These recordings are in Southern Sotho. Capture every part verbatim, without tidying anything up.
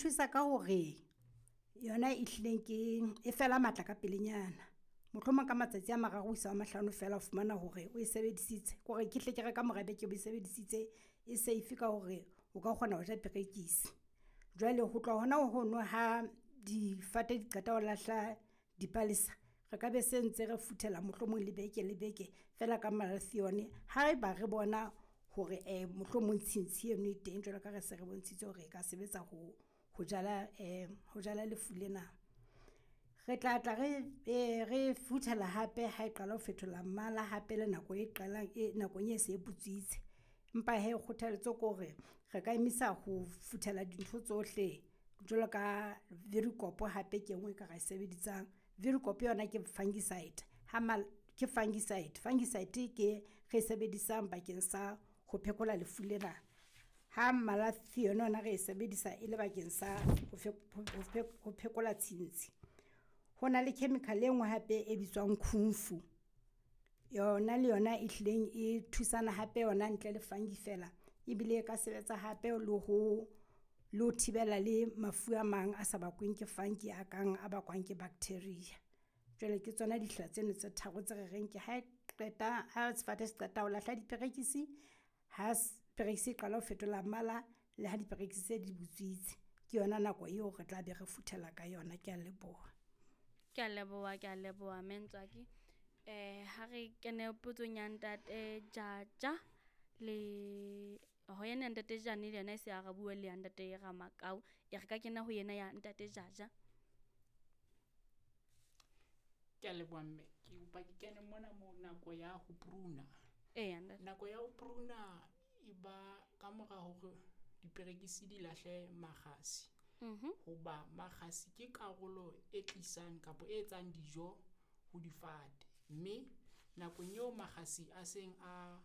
thusa ka hore yona e hlileng ke e fela matla ka pelenyana. Mohlomong ka matsatsi a mararo ho isa ho a mahlano feela o fumana hore o e sebedisitse. Kore ke hle ke re kamora beke o bo e sebedisitse e safe ka hore o ka kgona ho ja perekisi. Jwale ho tloha hona hono ha difate di qeta ho lahla dipalesa, re ka be se ntse re futhela mohlomong le beke le beke feela ka malathion. Haeba re bona hore mohlomong tshintshi eno e teng jwalo ka ha re se re bontshitse hore e ka sebetsa ho ho jala ho jala lefu lena. Re tla tla re re futhela hape ha e qala ho fetola mmala hape le nako e qalang e nakong e se e butswitse. Empa hee kgothaletso ke hore re ka emisa ho futhela dintho tsohle jwalo ka Virikop hape ke e nngwe e ka ra e sebedisang. Virikop yona ke fungicide ha ke fungicide. Fungicide ke re e sebedisang bakeng sa ho phekola lefu lena. Ha malathion yona re e sebedisa e le bakeng sa ho phekola tshintshi. Ho na le chemical e nngwe hape e bitswang kungfu, yona le yona e hlileng e thusana hape yona ntle le fungi feela. Ebile e ka sebetsa hape le ho le ho thibela le mafu a mang a sa bakweng ke fungi a kang a bakwang ke bacteria. Jwale ke tsona ditsela tseno tse tharo tse re reng ke ha e qeta ha sefate se qeta ho lahla diperekisi, ha perekisi e qala ho fetola mmala le ha diperekisi se di butswitse. Ke yona nako eo re tla be re futhela ka yona. Kea leboha. Ke a leboha, ke a leboha mme Ntswaki. Eh ha re kene potsong ya ntate Jaja le ho yena ntate Jane le yena e se arabuwe le ya ntate Ramakau. E re ka kena ho yena ya ntate Jaja. Ke a leboha mme, ke kopa ke kene mona mo nako ya ho pruna. Eya ntate. Nako ya ho pruna e ba ka mora hore diperekisi di lahle makgasi. Mhm. Hoba makgasi ke karolo e tlisang kapa e etsang dijo ho difate. Mme nakong eo makgasi a seng a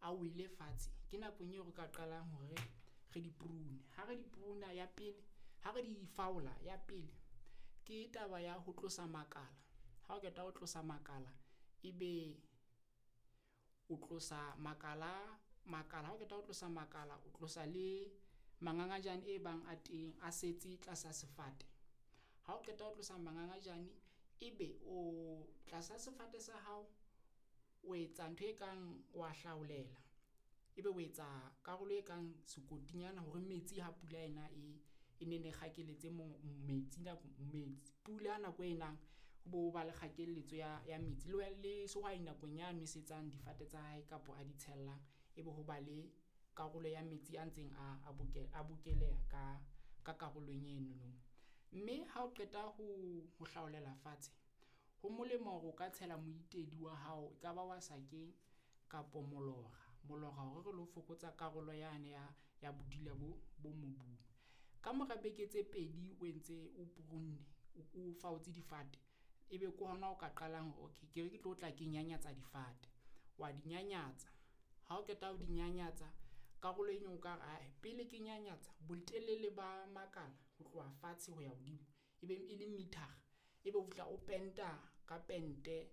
a wele fatshe, ke nakong eo re ka qalang hore re di prune. Ha re di pruna ya pele, ha re di faola ya pele, ke taba ya ho tlosa makala. Ha o qeta ho tlosa makala, ebe o tlosa makala makala ha o qeta ho tlosa makala, o tlosa le mangangajane e bang a teng a setse tlasa sefate. Ha o qeta ho tlosa mangangajane, ebe o tlasa sefate sa hao o etsa ntho e kang wa hlaolela, ebe o etsa karolo e kang sekotinyana hore metsi ha pula ena e e nenne kgakeletse mo metsi nako metsi pula nako e nang ho bo ba le kgakeletso ya ya metsi. Le le sehwai nakong ya nwesetsang difate tsa hae kapo a di tshellang, ebe ho ba le karolo ya metsi a ntseng a a a bokeleha ka ka karolong enono. Mme ha o qeta ho ho hlaolela fatshe, ho molemo hore o ka tshela moitedi wa hao, e ka ba wa sakeng kapo molora. Molora hore re lo fokotsa karolo yane ya ya bodila bo bo mobung. Kamora beke tse pedi o entse o prunne, o faotse difate, ebe ke hona o ka qalang hore okay ke re ke tlo tla ke nyanyatsa difate. Wa di nyanyatsa, ha o qeta ho di nyanyatsa karolo eno o ka re ae pele ke nyanyatsa botelele ba makala ho tloha fatshe ho ya hodimo, ebe e le meter-a. Ebe o fihla o penta ka pente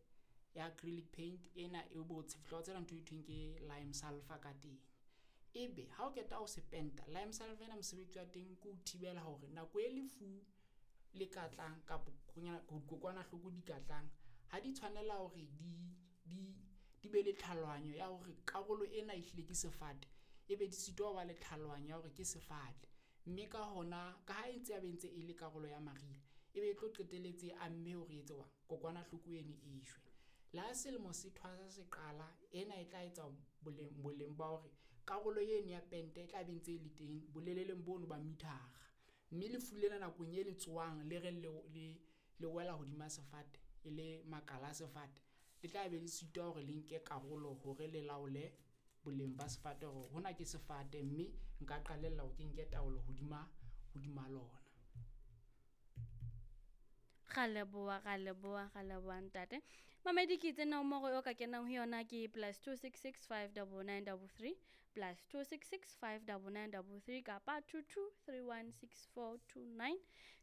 ya acrylic paint ena e bo fihla o tshela ntho e thweng ke lime sulphur ka teng. Ebe ha o qeta ho se penta, lime sulphur ena mosebetsi wa teng ke ho thibela hore nako e lefu le ka tlang kapo dikokwanahloko di ka tlang, ha di tshwanela hore di di di be le tlhalohanyo ya hore karolo ena e hlile ke sefate, ebe di sitwa ho ba le tlhalohanyo ya hore ke sefate. Mme ka hona ka ha e ntse ya be ntse e le karolo ya mariha, ebe e tlo qetelletse amme hore e etse kokwanahloko eno e shwe. Le ha selemo se thwasa se qala, ena e tla etsa boleng boleng ba hore karolo eno ya pente e tla be ntse e le teng boleleleng bono ba meter-a. Mme lefu lena nakong e le tsohang le reng le le le wela hodima sefate, e le makala a sefate, le tla be le sitwa hore le nke karolo hore le laole boleng ba sefate hore hona ke sefate mme nka qalella hore ke nke taolo hodima hodima lona. Ra leboha, ra leboha, ra leboha ntate. Mamedi ke itse nomoro eo ka kenang ho yona ke plus two six six five double nine double three, plus two six six five double nine double three kapa two two three one six four two nine,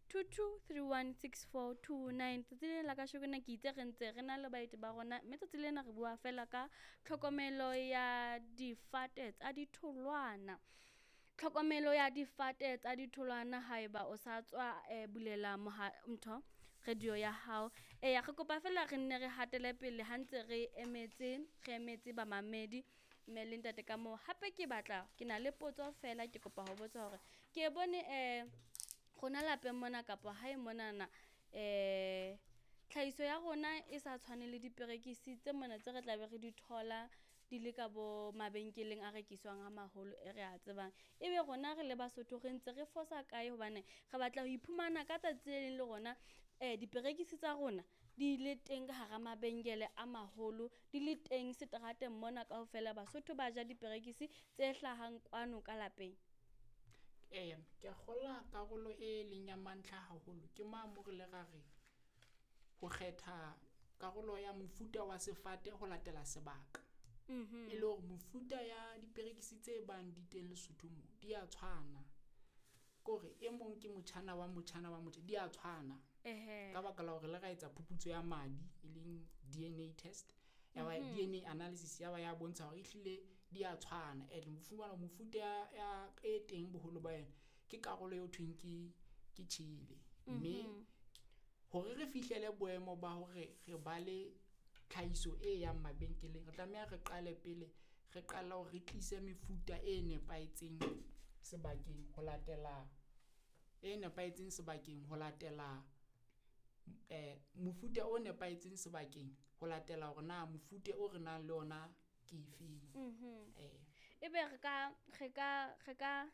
two two three one six four two nine. Tsatsi lena la kasheko na ke itse re ntse re na le baeti ba rona, mme tsatsi lena re bua fela ka tlhokomelo ya difate tsa ditholwana. Tlhokomelo ya difate tsa ditholwana haeba o sa tswa eh, bulela moha ntho radio ya hao. Eya, re kopa fela re nne re hatele pele ha ntse re emetse re emetse bamamedi mme le ntate ka moo. Hape ke batla ke na le potso fela, ke kopa ho botsa hore ke bone eh rona lapeng mona kapa hae monana eh tlhahiso ya rona e sa tshwane le diperekisi tse mona tse re tlabe re di thola di le ka bo mabenkeleng a rekiswang a maholo e re a tsebang. Ebe rona re le Basotho re ntse re fosa kae hobane re batla ho iphumana ka tsatsi le leng le rona eh diperekisi tsa rona di le teng ka hara mabenkele a maholo, di le teng seterateng mona kaofela Basotho ba ja diperekisi tse hlahang kwano ka lapeng. Eya, ke a kgolwa karolo e leng ya mantlha haholo ke ma mo re le ra re ho kgetha karolo ya mofuta wa sefate ho latela sebaka. Mhm. E le hore mofuta ya diperekisi tse bang di teng Lesotho mo di a tshwana. Kore e mong ke motjhana wa motjhana wa motjha, di a tshwana. Ehe. Ka baka la hore le ra etsa phuputso ya madi e leng D N A test, ya ba Mhm. D N A analysis ya ba ya bontsha hore ehlile di a tshwana. And mofumana mofuta ya, ya e teng boholo ba yona ke karolo eo thweng ke, ke tjhele. Mme Mhm. hore re fihlele boemo ba hore re ba le tlhahiso e yang mabenkeleng, re tlameha re qale pele re qala hore re tlise mefuta e nepahetseng sebakeng ho latela e nepahetseng sebakeng ho latela, eh, mofuta o nepahetseng sebakeng ho latela hore na mofuta o re nang le ona ke efeng. Mhm. Eh. Ebe re ka, re ka, re ka,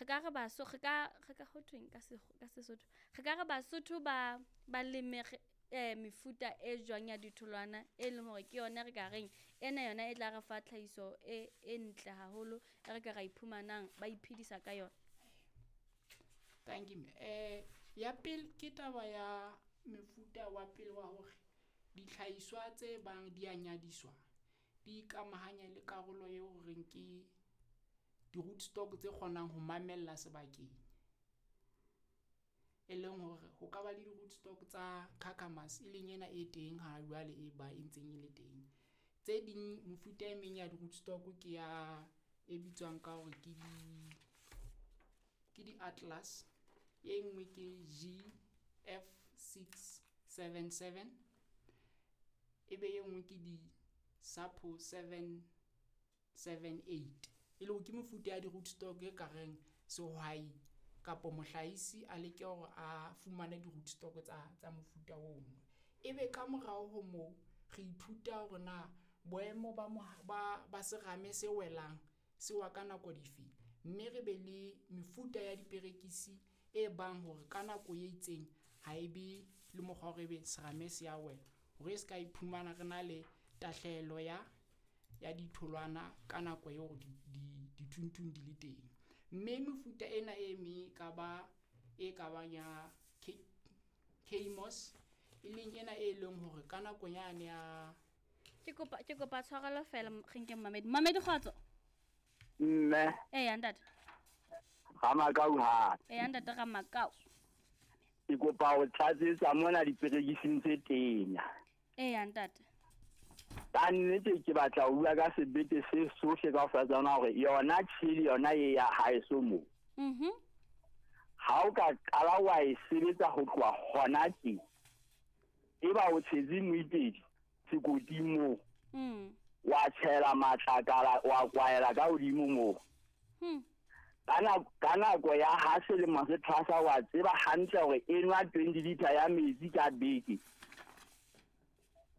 re ka re baso, re ka, re ka ho thweng ka se, ka Sesotho? Re ka re Basotho ba, ba leme re, eh, mefuta e jwang ya ditholwana e leng hore ke yona re ka reng ena yona e tla re fa tlhahiso e, e ntle haholo e re ka ra iphumanang ba iphedisa ka yona. Thank you. Eh, ya pele ke taba ya mefuta wa pele wa hore ditlhahiswa tse bang di a nyadiswa di ikamahanya le karolo eo re reng ke di-rootstock tse kgonang ho mamella sebakeng. E leng hore ho ka ba le di-rootstock tsa Kakamas e leng ena e teng ha jwale e ba e ntseng e le teng. Tse ding mefuta e meng ya di-rootstock ke ya e bitswang ka hore ke di, ke di-Atlas, e nngwe ke G F six seven seven, ebe e nngwe ke di-Sapo seven seven eight. E le hore ke mefuta ya di-rootstock e ka reng sehwai kapo mohlahisi a leke hore a fumane di-rootstock tsa, tsa mofuta ono. Ebe ka morao ho moo re ithuta hore na boemo ba moha-, ba, ba serame se welang se wa ka nako dife, mme re be le mefuta ya diperekisi e bang hore ka nako e itseng ha e be le mokgwa hore ebe serame se a wela, hore e se ka iphumana re na le tahlehelo ya, ya ditholwana ka nako eo di, di, dithunthung di le teng. Mme mefuta ena e meng e ka ba, e ka bang ya K-, K-Mos, e leng ena e leng hore ka nako yane ya Ke kopa, ke kopa tshwarelo fela, m-, re nke Mamedi. Mamedi kgotso. Mme. Eya, ntate. Ramakau hape. Eya, ntate Ramakau. Ke kopa ho tlatsetsa mona diperekising tse tenya. Eya, ntate. Ka nnete ke batla ho bua ka sebete se sohle kaofela tsona hore yona tjhele yona e ya haeso moo. Mhm. Ha o ka qala wa e sebetsa ho tloha hona tje, eba o tshetse moipedi sekoting moo. Mm. Wa tshela matlakala, wa kwaela ka hodimo moo. Hmm. Ka nako, ka nako ya ha selemo se thwasa wa tseba hantle hore e nwa twenty liter ya metsi ka beke.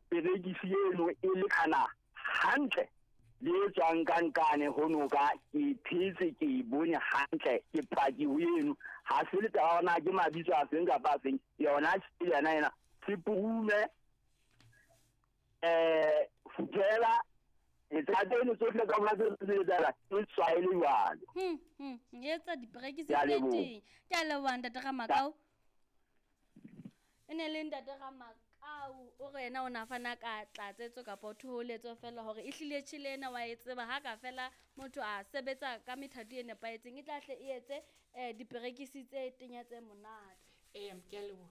Perekisi eno e lekana hantle le e tswang ka nkane ho noka, ke phetse ke e bone hantle, ke paki ho eno. Ha se le taba hore na ke mabitso a feng kapa a feng, yona ke yona ena. Sepurume, eh, futhela, letsatsi leno tsohle ka mora tse tse tsela, e tshwaele jwalo. Hmm, hmm, e etsa diperekisi Ke a tse leboha. teng. Ke a leboha, ntate Ramakau. E ne le ntate Ramakau, o re yena o na fana ka tlatsetso kapa thoholetso fela hore ehlile tjhele ena wa e tseba ha ka fela motho a sebetsa ka methati e nepahetseng e tla hle e etse, eh, diperekisi tse tenya tse monate. Eya, ke a leboha.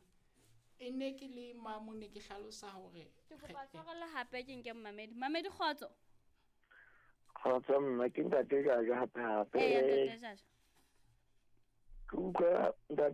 E ne ke le mamo ne ke hlalosa hore Ke re- kopa tshwarelo hape ke nke Mamedi. Mamedi kgotso. Kgotso mma, ke ntate Jaja hape hape. Eya ntate Jaja. Ke utlwa ntate